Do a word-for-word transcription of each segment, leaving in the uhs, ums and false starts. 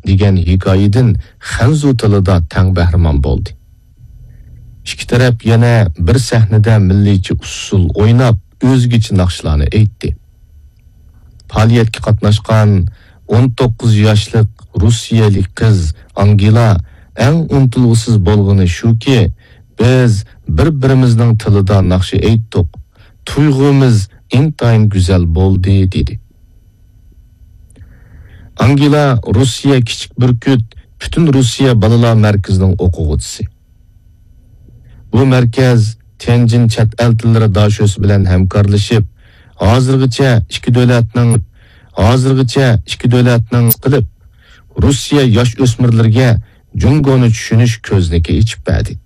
دېگەن ھېكايىدىن خەنزۇ تىلىدا تەڭ بەھرىمەن بولدى. ئىككى تەرەپ يەنە بىر سەھنىدە مىللىيچە ئۇسسۇل ئويناپ، ئۆزگىچە ناخشىلارنى ئېيتتى. پائالىيەتكە قاتناشقان ئون توققۇز ياشلىق روسىيەلىك قىز ئانگېلا ئەڭ ئۇنتۇلغۇسىز بولغىنى شۇكى، بىز بىر-بىرىمىزنىڭ تىلىدا ناخشا ئېيتتۇق. تۇيغۇمىز ئىنتايىن گۈزەل بولدى، دېدى. ئانگېلا روسىيە كىچىك بۈركۈت پۈتۈن روسىيە بالىلار مەركىزىنىڭ ئوقۇغۇچىسى. بۇ مەركەز تيەنجىن چەت ئەل تىللىرى داشۆسى بىلەن ھەمكارلىشىپ، ھازىرغىچە ئىككى دۆلەتنىڭ، ھازىرغىچە ئىككى دۆلەتنىڭ قىلىپ، روسىيە ياش ئۆسمۈرلىرىگە جۇڭگونى چۈشىنىش كۆزنىكى ئېچىپ بەردى.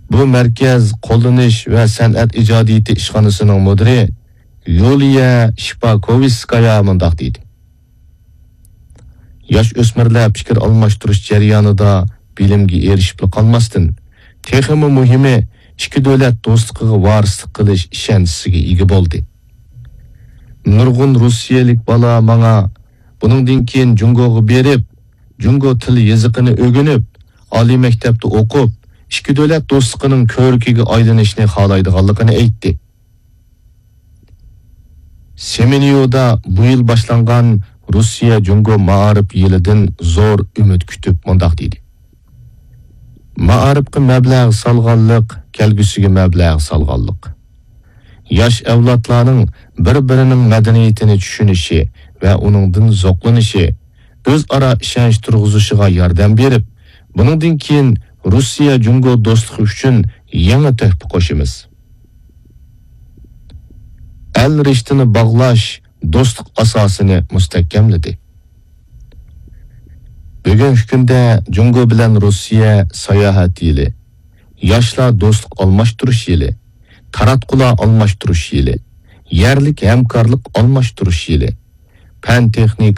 بۇ مەركەز قوللىنىش ۋە سەنئەت ئىجادىيىتى ئىشخانىسىنىڭ مۇدىرى يۇلىيە شىپاكوۋىسكايا مۇنداق دېدى: ياش ئۆسمۈرلەر پىكىر ئالماشتۇرۇش جەريانىدا بىلىمگە ئېرىشىپلا قالماستىن، تېخىمۇ مۇھىمى، ئىككى دۆلەت دوستلۇقىغا ۋارىسلىق قىلىش ئىشەنچىسىگە ئىگە بولدى. نۇرغۇن روسىيەلىك بالا ماڭا بۇنىڭدىن كېيىن جۇڭگوغا بېرىپ، جۇڭگو تىل يېزىقىنى ئۆگىنىپ، ئالىي مەكتەپتە ئوقۇپ، ئىككى دۆلەت دوستلۇقىنىڭ كۆۋرۈكىگە ئايلىنىشنى خالايدىغانلىقىنى ئېيتتى. سېمېنيۇدا بۇ يىل باشلانغان روسىيە جۇڭگو مائارىپ يىلىدىن زور ئۈمىد كۈتۈپ مۇنداق دېدى: مائارىپقا مەبلەغ سالغانلىق، كەلگۈسىگە مەبلەغ سالغانلىق. ياش ئەۋلادلارنىڭ بىر-بىرىنىڭ مەدەنىيىتىنى چۈشىنىشى ۋە ئۇنىڭدىن زوقلىنىشى، ئۆزئارا ئىشەنچ تۇرغۇزۇشىغا ياردەم بېرىپ، بۇنىڭدىن كېيىن روسىيە جۇڭگو دوستلۇقى ئۈچۈن يېڭى تۆھپە قوشىمىز. ئەل رىشتىنى باغلاش دوستلۇق ئاساسىنى مۇستەھكەملىدى. بۈگۈنكى كۈندە جۇڭگو بىلەن روسىيە ساياھەت يىلى، ياشلار دوستلۇق ئالماشتۇرۇش يىلى، تاراتقۇلار ئالماشتۇرۇش يىلى، يەرلىك ھەمكارلىق ئالماشتۇرۇش يىلى، پەن تېخنىكا